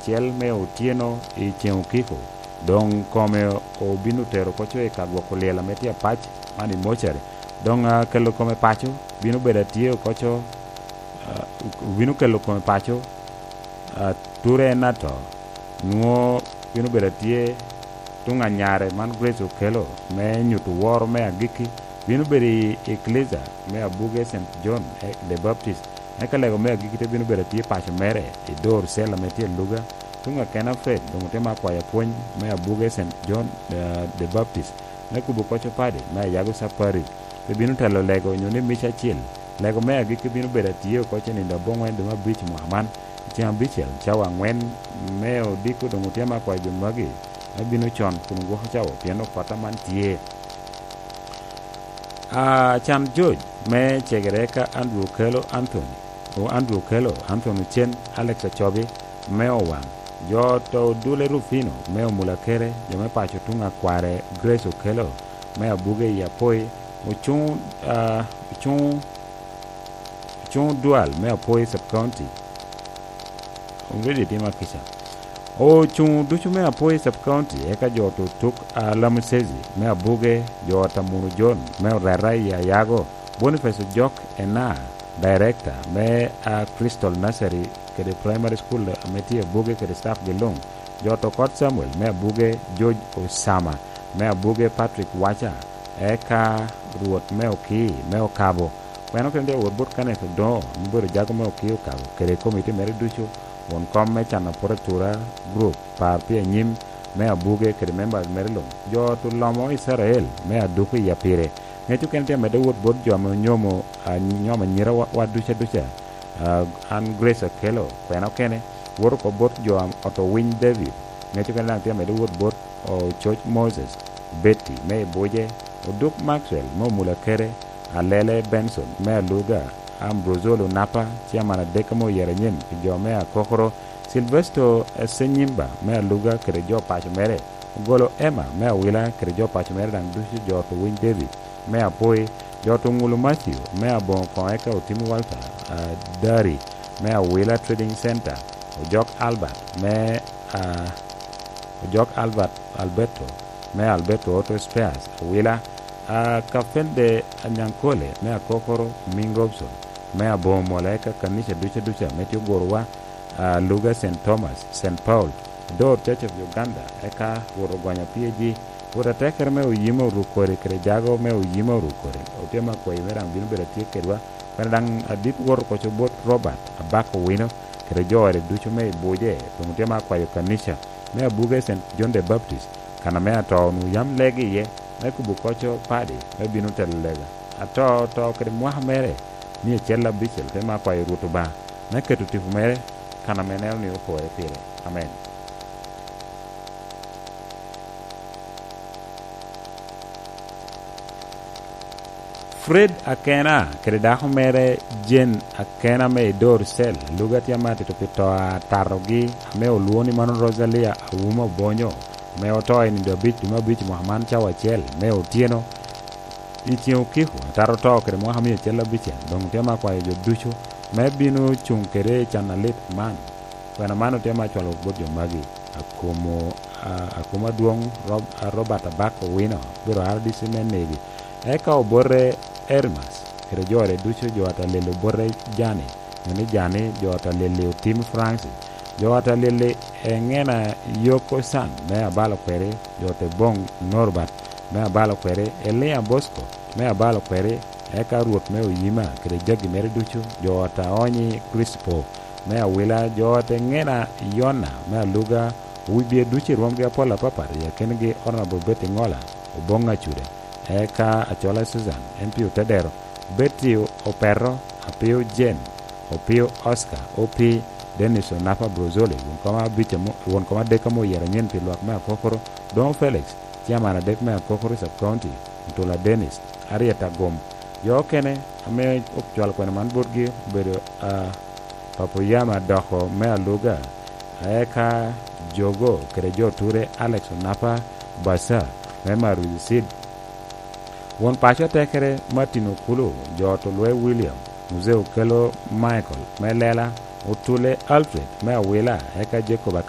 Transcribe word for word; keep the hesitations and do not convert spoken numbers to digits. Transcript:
acel me otyeno i ceŋ okiko. Doŋ kome obino tero oko co i ka gwoko lyel ame tye apac man i mocere. Doŋ, ah, kelo kome paco bino bedo atye oko co, ah, obino kelo kome paco, ah, ture en ato. Nwoŋo bino bedo atye tuŋ anyare man Grace okelo me nyuto woro me agikki. Bino bedo i Eklezia me Abuge Saint John, eh, the Baptist. Eka lego me agikki te bino bedo atye paco mere i dor cel ame tye i Luga. Tuŋ akena Fred doŋ otemo akwayo apwony me Abuge Saint John, eh, the Baptist, me kubo koc opadi me Ayago Sub Parish. Pe bino telo lego onyo ni mic acil. Lego me agikki bino bedo atye oko ce nino aboŋwen dwe me abic mwaka man, i ceŋ abicel, cawa aŋwen me odiko. Doŋ otemo akwayo jo magi me bino con kun gwoko cawa, pien opota man tye. Ah, can George me cegere ka Andrew Okello Anthony, o Andrew Okello Anthony Ocen, Alex Acobi me Owaŋ, jo to Odule Rufino me Omulakere, jo me paco tuŋ akware Grace Okello me Abuge i Apoi, Ocuŋ, ah, Ocuŋ, Ocuŋ Dual me Apoi Sub County. Already timo kica. Ocuŋ ducu me Apoi Sub County, eka jo to tuk a Lamusezi me Abuge, jo ot a Munu John me Oreta i Ayago, Boniface Ojok Ena, Director me, a, Crystal Nursery kede Primary School ame tye Abuge kede staff gi luŋ, jo to Kot Samuel me Abuge, George Osama me Abuge, Patrick Wacha, eka Rwot me Okii me Okabo. Kweno kene tye wot bot Kenneth Odoŋo, me bedo jago me Okii Okabo, kede komiti mere ducu, won kom me can apworatura, group, par pi anyim me Abuge kede members mere luŋ, jo to lomo Icrael me Aduku i Apire. Ŋec okene tye amedde wot bot jo ame onyomo, a, nyomo anyira wa, wa duca duca. A, an Grace Okello, kwena okene, wot oko bot jo am-, oto Winy David. Ŋec okene daŋ tye amedde wot bot Ococ Moses, Betty me Ibuje, Oduk Maxwell me Omulakere, Alele Benson me Aluga, Ambrozolo Napa, ciaman adek ame oyero anyen pi jo me Akokoro, Silvesto Senyimba me Aluga kede jo paco mere, Ogolo Emma me Awila kede jo paco mere daŋ ducu, jo oto Winy David me Apoi, jo oto Ŋulu Matthew me Aboŋo Koŋ, eka Otim Walter, a, Dari me Awila Trading Center, Ojok Albert me, a, Ojok Albert Alberto me Alberto Auto Spares Awila, a, Kafende Anyankole me Akokoro, Ming Robson me Aboŋo Mola, eka kanica duca duca me tye ogorowa, a, Luga Saint Thomas, Saint Paul, Dor Church of Uganda, eka Rwot ogonyo P A G, Rwot atekere me oyima oru kodi, kede jago me oyima oru kodi, otye me akwayo me daŋ bino bedo atye kedwa, kwene daŋ adit wot oko co bot Robert Abak Owino, kede jo ode ducu me Ibuje, doŋ otye me akwayo kanica me Abuge Saint John the Baptist, kan ame ato onwoŋo yam legi iye, me kubo koco padi, me bino telo lega. Ato oto kede mwaka mere, mia acel abicel, te me akwayo Rwot Obaŋa, me keto tipo mere, kan ame neno ni opore pire. Amen. Fred Akena kede dako mere Jane Akena me i Dor Cell, Luga tye amatito pi to a tatogi ame olwoŋo ni mano Rosalia Awuma Obonyo, ame oto i nino abic dwe me abic mwaka man cawa acel me otyeno. I ceŋ okiko, atato oto kede mwaka mia acel abicel, doŋ tye me akwayo jo ducu me bino cuŋ kede i can alit man. Kwena man otye me acwalo bot jo magi, Akumo, a, Akumo Adwoŋ Rob-, a, Robert Abak Owino, obedo R D C me Nebi. Eka obote Erimas, kede jo ode ducu, jo ata lelo obote Jani, nyo ni Jani, jo ata lelo Otim Francis, jo ata lelo Eŋena Yoko San me abalo kweri, jo te boŋ Norbert me abalo kweri, Elia Bosco me abalo kweri, eka Rwot me Oyima kede jagi mere ducu, jo ata Onyi Crispo me Awila, jo ata Eŋena Yona me Aluga, owibie ducu i rwomgi apol apapat, i akinigi Honorable Betty Ŋola, Oboŋ Acuda, eka Acola Susan, M P Otedero, Betty Opeto, Apio Jane, Opio Oscar, O P, Dennis Onapa Brozoli, won kom abic amo-, won kom adek ame oyero anyen pi lwak me Akokoro, Doŋo Felix, Chairman adek me Akokoro Sub County, Mutula Dennis, Harriet Agum. Jo okene ame ocwalo kwena man botgi obedo, a, Papo Yam Adoko me Aluga, eka Jogo kede jo Ture, Alex Onapa Basa me Maruzi Seed, won paco atekere Martin Okulu, jo ot Olwe William, Muzee Okello Michael me Lela, Otule Alfred me Awila, eka Jacob